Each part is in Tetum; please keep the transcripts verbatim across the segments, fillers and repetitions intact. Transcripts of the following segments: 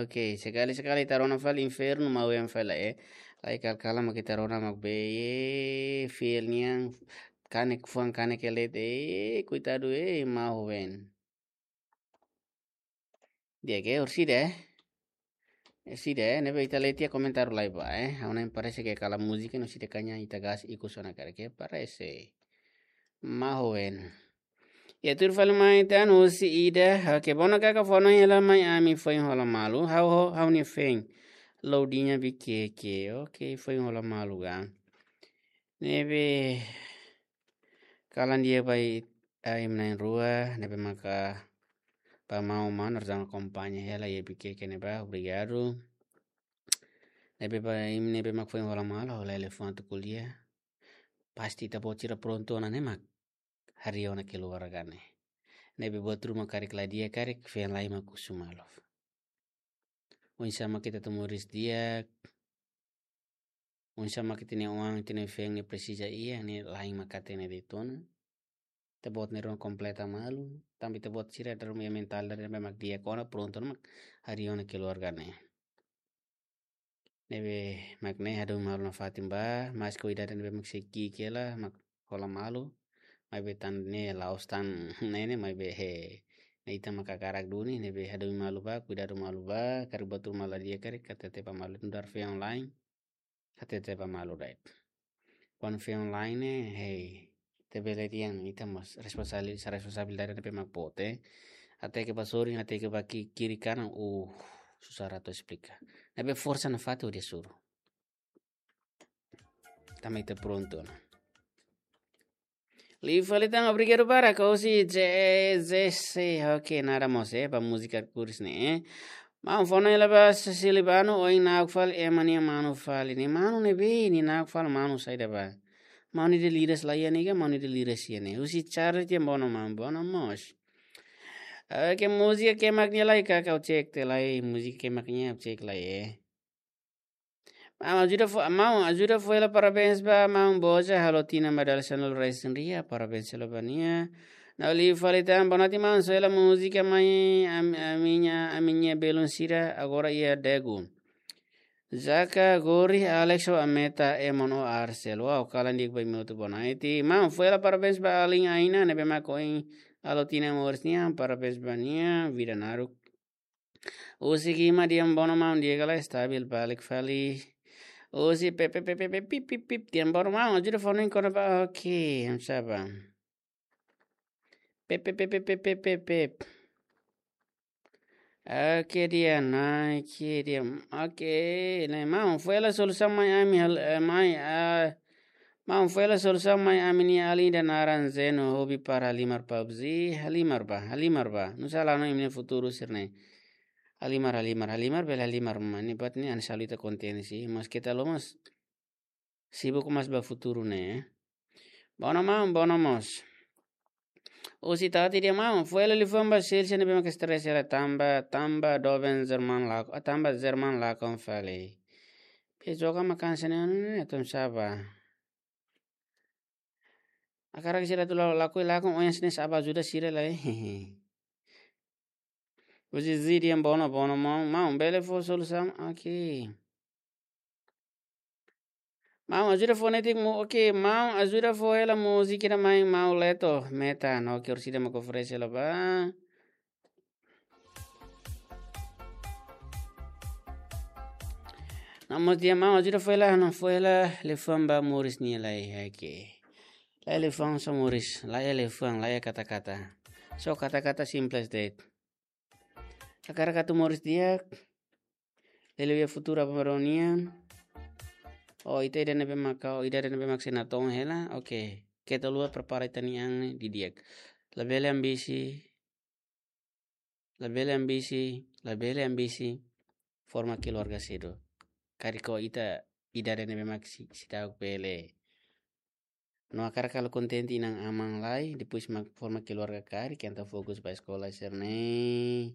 Oke, sekali-sekali ita rona fali infernu, mau em fali, eh. Lai kal-kala mak ita rona mak be, eh, fiel nian, kanek fuan kanek elet, eh, koitadu, eh, mau ven. Di'ak, eh, orsida, eh. Orsida, eh, ne'ebé ita lee tiha komentáriu lai ba, eh. Ha'u hanoin parese ke kala múzika no sida kaña ita gas ikus ona karik, eh, parese. Mau ven. Iha tuir fali mai tan husi ida, oke, bona kaka fó hanoin hela mai ami foin hola malu, ha'u ho, ha'u-nia feen. Loudinha Bikeke, oke, foin hola malu ga. Ne'ebé kalan di'ak ba imi na'in-rua, ne'ebé maka ba mau mano, rezang akompaña hela iha Bikeke ne'ebá, obrigadu. Ne'ebé ba imi ne'ebé mak foin hola malu, hola elefante ko'alia. Pasti ita-boot sira prontu ona ne'e mak harii ona keluarga ne'e. Ne'ebé buat ruma karik la di'ak karik, feen lai mak husu malu. Oinsá mak ita atu moris di'ak, oinsá mak ita-nia oan, ita-nia feen ne'e presiza iha, ne'e la'en mak hatene de'it ona. Ita-boot ne'e ruma kompleta malu, tanba ita-boot sira dala ruma iha mentál dala ruma mak di'ak ona, prontu ona mak harii ona keluarga ne'e. Ne'ebé mak ne'e hadomi malu nafatin ba, maske idade ne'ebé mak sei ki'ik hela, mak hola malu. Maibé tan ne'e la'ós tan ne'e ne'e, maibé he, ne'e ita mak hakarak duni, ne'ebé hadomi malu ba, kuidadu malu ba, karik buat ruma la di'ak karik, hatete ba malu, nu'udar feen online. Hatete ba malu de'it. Kuandu feen online ne'e, hei, ita bele dehan ita mós responsabili-, sa responsabilidade ne'ebé mak boot, eh. Hateke ba sorin, hateke ba ki-, kiri kanan, uh, susar atu esplika. Ne'ebé forsa nafatin hodi hasoru. Tanba ita prontu ona. Liu fali tan, obrigadu barak, husi J J C, oke, nada mós, eh, ba múzika kuris ne'e, eh. Maun fó hanoin hela ba Silvano, oin na'ok fali, ema nia manu fali ne'e, manu ne'ebé, nia na'ok fali manu saida ba. Manu ida liras la iha ne'e ka, manu ida liras iha ne'e. Husi Charlie tiha, bono maun, bono mós. Oke, múzika ke mak nia lai ka, kau cek te lai, múzika ke mak nia cek lai, eh. Maun ajuda fó, maun ajuda fó hela parabéns ba maun Boja, halo tinan ba dala sanulu-resin-rua, parabéns hela ba nia. Na'ok liu fali tan, bonatin maun, soe hela múzika mai, am-, ami-nia, ami-nia belun sira, agora iha Daegu. Jaka, Gori, Alex ho Ameta, Emon ho Arsel. Wow, kalan di'ak ba imi hotu, bonatin. Maun, fó hela parabéns ba alin Aina, ne'ebé mak ohin halo tinan moris nian, parabéns ba nia, vida naruk. Husi Gima, di'ak, bono maun, di'ak ka lae, stabil, balik fali. Husi Pepe, Pepe, Pepe, pip, pip, pip, di'ak, bono maun, ajuda fó hanoin kona-ba, oke, oinsá ba. Pepe, Pepe, Pepe, Pepe, Pepe. Oke, di'ak, naik, di'ak, oke, ne'e maun, fó hela solusaun mai ami, hal-, eh, mai, ah, maun, fó hela solusaun mai ami-nia alin ida naran Zeno, hobi para halimar PUBG, halimar ba, halimar ba. Nusá la hanoin imi-nia futuru sira-ne'e. Halimar, halimar, halimar, bele halimar, mane, buat ne'e hanesan ita kontente sih. Mas keta lo mas. Sibuk mós ba futuru ne'e. Bono maun, bono mós. Husi Tati, di'ak maun, fó hela liafuan ba Celsia ne'ebé mak stress hela tanba, tanba doben Jerman lak-, ah, tanba Jerman lakon fali. Pe joga makan sene anu ne'e, atu oinsá ba. Hakarak sira atu la-, lakohi lakon, oinsá ne'e sa'e ba ajuda sira lai. Husi Zidian, bono, bono maun, maun, bele fó solusaun, oke. Maun, ajuda fó netik mu, oke, maun, ajuda fó hela múzika ida mai, maun Leto, Meta, no, ke orsida mak oferese hela ba. Namo dia maun, ajuda fó hela, no, fó hela, liafuan ba moris nia lai, oke. Lai liafuan só moris, lai liafuan, lai kata-kata. Só kata-kata simples de'it. Hakarak atu moris di'ak. Lele iha futuru ba maronia. Oh, ita ida ne'ebé maka, oh, ida ne'ebé mak sei natoon hela. Oke. Keta haluha prepara ita-nia an ne'e didi'ak. Labele ambisi. Labele ambisi. Labele ambisi. Forma keluarga sedu. Karik ita ida ne'ebé mak sei, sei ta'uk bele. No hakarak halo kontente inan-aman lai, depois mak forma keluarga karik, entaun fokus ba eskola sira-ne'e.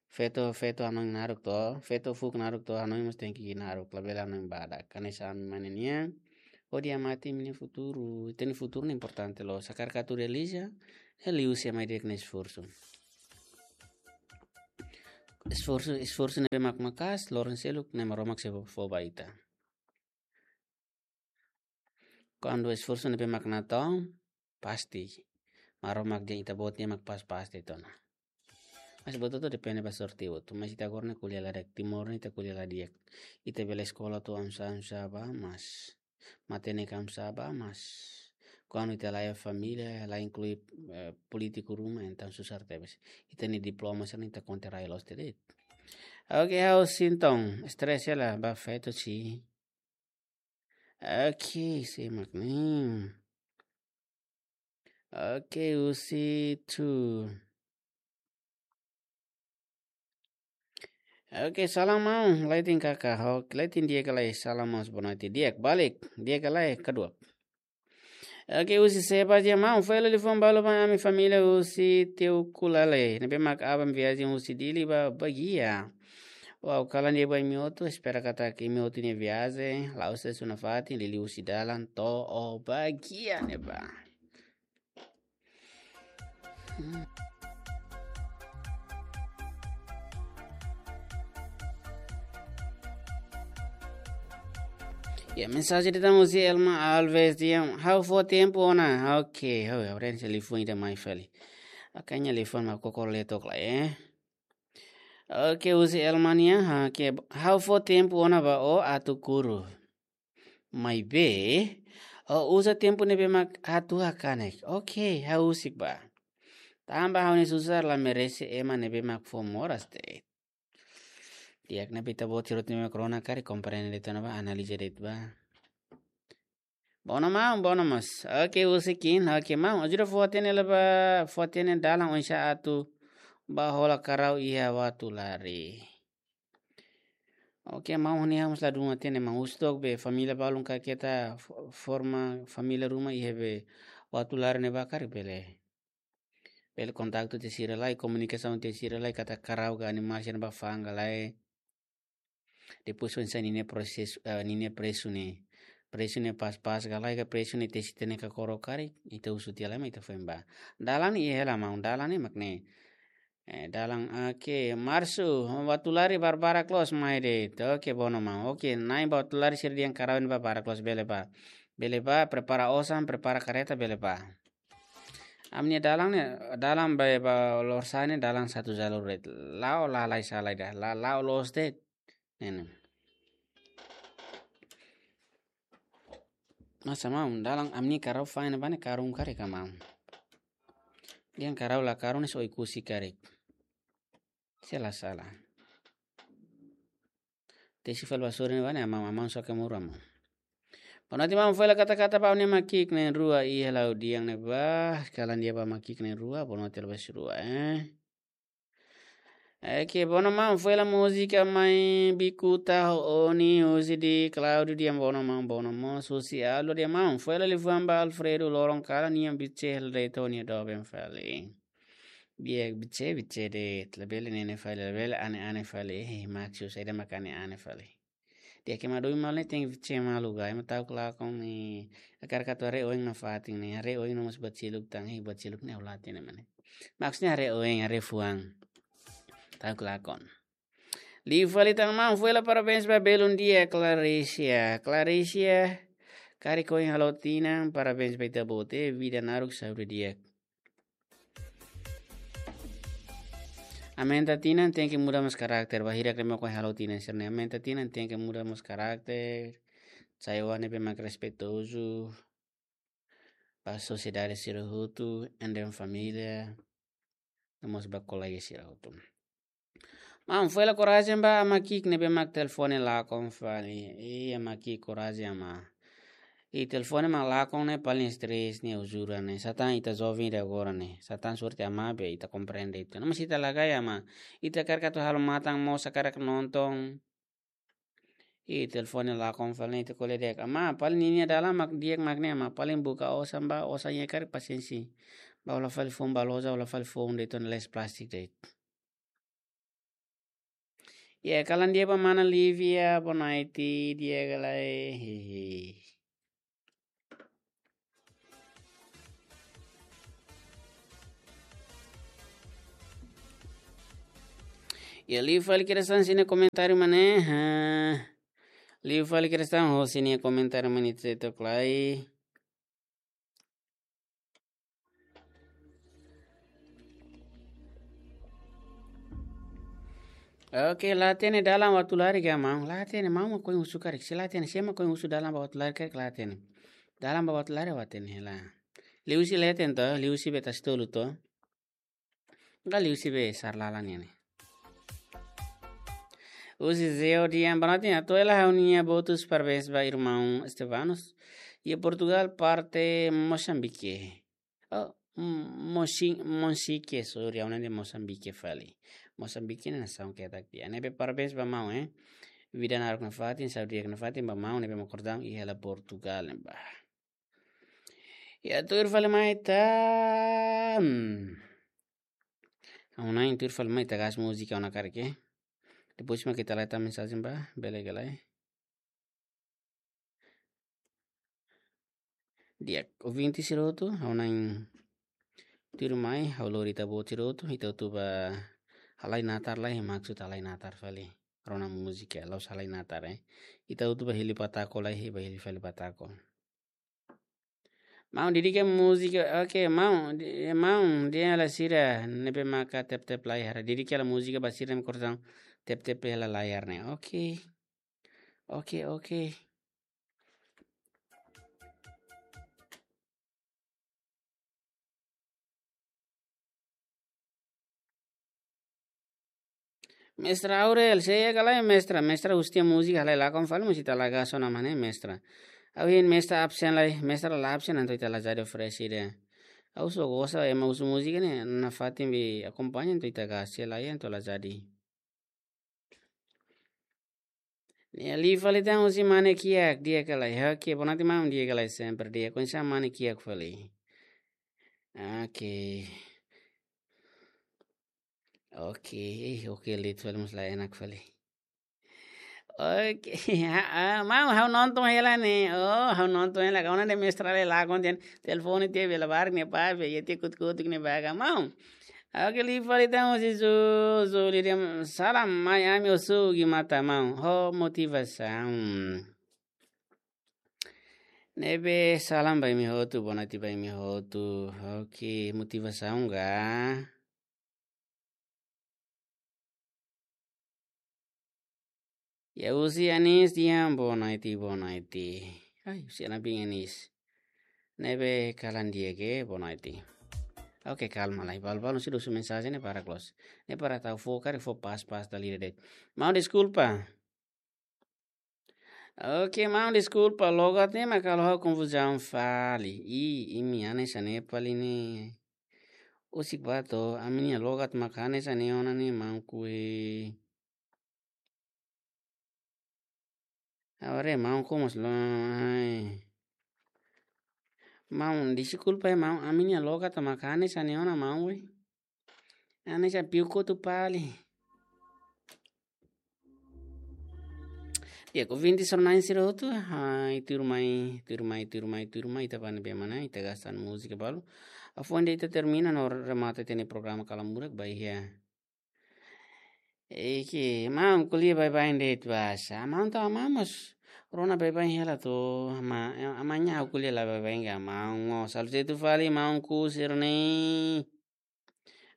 Feto, feto hanoin naruk to, feto fuuk naruk to, hanoin mós tenke naruk, labele hanoin badak. Hanesan mane nian, hodi amati imi-nia futuru, ita-nia futuru ne'e importante loos. Hakarak atu realiza, liuhusi ema ida-idak nia esforsu. esforsu, esforsu ne'ebé mak maka'as, loron seluk ne'e Maromak sei fó ba ita. Kuandu esforsu ne'ebé mak natoon, pasti Maromak dehan ita-boot ne'e mak pas-pas de'it ona. Mas buat hotu depende ba sorte hotu. Mas ita agora ne'e ko'alia la di'ak, Timor ne'e ita ko'alia la di'ak. Ita bele eskola to'o oinsá, oinsá bá, mas matenek oinsá bá, mas kuandu ita la iha família, la inklui, eh, polítiku ruma, entaun susar tebes. Ita-nia diploma sira-ne'e ita konta rai loos de'it. Oke, ha'u sinton, stress la ba feto si. Oke, simak ne'e. Oke, husi tu. Oke, salam maun, leten kaka, ho, leten di'ak ka lae, salam maun, boa noite, di'ak, balik, di'ak ka lae, kaduak. Oke, husi Seba dehan maun, fó hela liafuan balu ba ami família husi Teukulale, ne'ebé mak aban viajen husi Dili ba Baguia. Ha'u kalan de'it ba imi hotu, espera katak imi hotu-nia viajen la'ós sesuna fatin, liuliu husi dalan to'o Baguia ne'ebá. Hmm. Ya, mensajen de'it husi Elma Alves dehan, ha'u fó tempu ona. Oke, ha'u ya, oren se liafuan ida mai fali. Akanya liafuan mak koko letok la, eh. Oke, husi Elma nian, ha, ke, ha'u fó tempu ona ba ó atu kuru. Maibé, ó uza tempu ne'ebé mak atu hakanek. Oke, ha'u husik bá. Tanba ha'u-nia susar la merese ema ne'ebé mak fó moras de'it. Di'ak ne'ebé ita-boot sira hotu ne'ebé mak rona karik komprende de'it ona bá, analiza de'it bá. Bono maun, bono mós. Oke, husi Kin, oke maun. Ajuda fó hatene la bá, fó hatene dalan oinsá atu bá hola karau iha Uatulari. Oke, maun, ne'e ha'u mós ladún hatene maun, husi to'ok be família balun ka keta fo-, forma família ruma iha be Uatulari ne'ebá karik bele. Bele kontaktu tiha sira lai, komunikasaun tiha sira lai, katak karau ka animál sira ne'ebá fa'an ka lae. Depois oinsá ninia prosesu, eh, ninia presu ne'e. Presu ne'e pas-pas ka lae ka presu ne'e tesi hatene ka koro karik, ita husu tiha lai mak ita foin bá. Dalan iha hela maun, dalan ne'e mak ne'e. Eh, dalan, oke, marsu, Uatulari barbarak loos mai de'it. Oke, bono maun. Oke, na'in ba Uatulari sira dehan karau ne'ebá barak loos bele bá. Bele bá, prepara osan, prepara kareta, bele bá. Ami-nia dalan ne'e, dalan ba, ba Lorsai ne'e dalan satu jalur de'it. La'o lalais sala ida, la, la'o loos de'it. Ne'e ne'e. Masa maun, dalan ami-nia karau fa'an ne'ebá ne'e karun karik ka maun. Dehan karau la karun ne'e se Oekusi karik. Se la sala. Tesi fali ba sore ne'ebá ne'e, amam, amam só ke muru amam. Boa noite maun, fó hela kata-kata ba ami-nia aman ki'ik na'in-rua iha Laudiang ne'ebá, kalan de'it ba aman ki'ik na'in-rua, boa noite loos ba sira rua, eh. Oke, bono maun, fó hela múzika Mãe Bicuda ho Oni, husi di Claudio dehan bono maun, bono mós, husi Aldo dehan maun, fó hela liafuan ba Alfredo, loron kalan nian Bitse hela de'it ho nia doben fali. Biek Bitse, Bitse de'it, labele ne'e ne'e fali, labele ane-ane fali, eh, Maxus, ida mak ane-ane fali. Di'ak, ema doben malu ne'e tenke Bitse malu ka, ema ta'uk lakon ne'e, hakarak atu haree oin nafatin ne'e, haree oin no mós buat seluk tan, eh, buat seluk ne'e ha'u la hatene mak ne'e. Maksudnya haree oin, haree fuan. Ta'uk lakon. Liu fali tan maun, fó hela parabéns ba belun di'ak Clarisia. Clarisia, karik ohin halo tinan, parabéns ba ita-boot, vida naruk, saúde di'ak. Aumenta tinan tenke muda mós karakter, ba hirak ne'ebé mak ohin halo tinan sira-ne'e. Aumenta tinan tenke muda mós karakter, sai oan ne'ebé mak respeitozu ba sosiedade sira hotu, ende família, no mós ba kolega sira hotu. Maun, fó hela korajen ba aman ki'ik ne'ebé mak telefone lakon fali. Ih, aman ki'ik, korajen aman. Ih, telefone mak lakon ne'e paling stress ne'e, jura ne'e. Sá tan ita joven ida agora ne'e. Sá tan sorte aman be ita komprende ita. Mas ita la gaya aman. Ita hakarak atu halo matan mós, hakarak nonton. Ih, telefone lakon fali ne'e, ita ko'alia di'ak. Aman, paling ninia dalan mak di'ak mak ne'e aman. Paling buka osan ba, osan iha karik pasiénsia. Ba hola fali foun ba loja, hola fali foun de'it ona, la'ós plástiku de'it. Ya, kalan di'ak ba mana Livia, boa noite, di'ak ka lae, hehe. Ya, liu fali Kristan sira-nia komentáriu mak ne'e. Ha. Liu fali Kristan ho sira-nia komentáriu mak ne'e, ita sei to'o lai. Oke, la hatene dalan ba Tulari ka maun? La hatene, maun mak ohin husu karik. Se la hatene, sé mak ohin husu dalan ba Tulari karik, la hatene. Dalan ba Tulari la hatene, la. Liuhusi leten to, liuhusi be Tasitolu to. Ka liuhusi be Sarlala nian ne'e. Husi Zeo Dian, boa noite, atu hela ha'u-nia votus parabéns ba irmaun Estevanos. Iha Portugal, parte Mosambike. Oh, mm, Mosi-, Monsike, sorry, ha'u hanoin dehan Mosambike fali. Mosambike ne'e nasaun ketak tiha. Ne'ebé parabéns ba maun, eh. Vida naruk nafatin, saúde di'ak nafatin ba maun, ne'ebé mak kordang iha hela Portugal ne'ebá. Ya, tuir fali mai ita. Hmm. Ha'u hanoin tuir fali mai ita gas múzika ona karik, eh. Depois mak ita la hetan mensajen ba, bele ka lae. Di'ak, ouvinte sira hotu, ha'u hanoin tuir mai, ha'u lori ita-boot sira hotu, ita hotu bá halai natar lai, maksud halai natar fali. Rona múzika, la'ós halai natar, eh. Ita hotu bá hili patako lai, bá hili fali patako. Maun, dedika múzika, oke, maun, di-, maun, dehan hela sira ne'ebé maka tep-tep lai hara. Dedika hela múzika ba sira ne'ebé kordang tep-tep hela lai hara ne'e. Oke. Oke, oke. Mestra Aurel, sé iha ka lae mestra, mestra husu tiha múzika halai lakon fali, mós ita la gas ona mak ne'e mestra. Ha'u hein mestra absen lai, mestra la absen entaun ita la jadi oferese ida. Ha'u só gosta ema husu múzika ne'e, nafatin be akompaña entaun ita gas, se la iha entaun la jadi. Ne'e liu fali tan husi Mane Kiak, di'ak ka lae. Oke, boa noite maun, di'ak ka lae, sempre di'ak. Oinsá Mane Kiak fali? Oke. Oke, eh, oke, liu fali mós la enak fali. Oke, ah, ah, maun, ha'u nonton hela ne'e. Oh, ha'u nonton hela. Kauna de mestra le la konten. Telefone tiha bele barak ne'e pa, be, iha tiha kutuk-kutuk ne'ebá ka maun. Oke, liu fali tan husi Zu, Zu, liu di'ak, salam mai ami husu gimata maun. Ho motivasaun. Ne'ebé salam ba imi hotu, boa noite ba imi hotu. Oke, motivasaun ka? Ya, husi Anis Dian, boa noite, boa noite. Ai, husi Anabin Anis. Ne'ebé kalan di'ak ke, boa noite. Oke, kalma lai. Balu-balu sira husu mensajen ne'e para close. Ne'e para tau fó karik fó pas-pas dala ida de'it. Maun deskulpa. Oke, maun deskulpa. Logat ne'e mak halo ha'u konfuzaun fali. I, imi hanesan Nepal ne'e. Husik ba to'o, ami-nia logat mak hanesan ne'e ona ne'e maun kue. Agora maun komu slo, ai. Maun, deskulpa, eh, maun, ami-nia logat mak hanesan ne'e ona maun, we. Hanesan piu kotu fali. Di'ak, ouvinte sira-ne'e sira hotu, ai, tuirmai, tuirmai, tuirmai, tuirmai, ita bá ne'ebé mak ne'e, ita gas tan múzika balu. Hafoin de'it ita termina no remata ita-nia programa Kalan Murak ba iha. Eke, maun ko'alia baibain de'it basa. Maun tau maun mós rona baibain hela to, ma, amanhã ha'u ko'alia la baibain ka maun. Ó, salu setu fali maun ku sira-ne'e.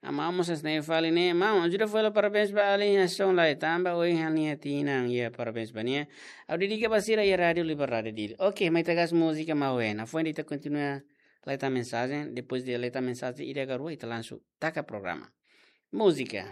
Maun mós hanesan ne'e fali ne'e. Maun, ajuda fó hela parabéns ba alin hanesan lai tanba ohin ha'u-nia tinan. Ya, parabéns ba nia. Ha'u dedika ba sira iha Rádiu Liberdade Dili. Oke, mai ita gas múzika maun. Hafoin de'it ita kontinua la hetan mensajen. Depois de la hetan mensajen ida ka rua, ita langsung taka programa. Múzika.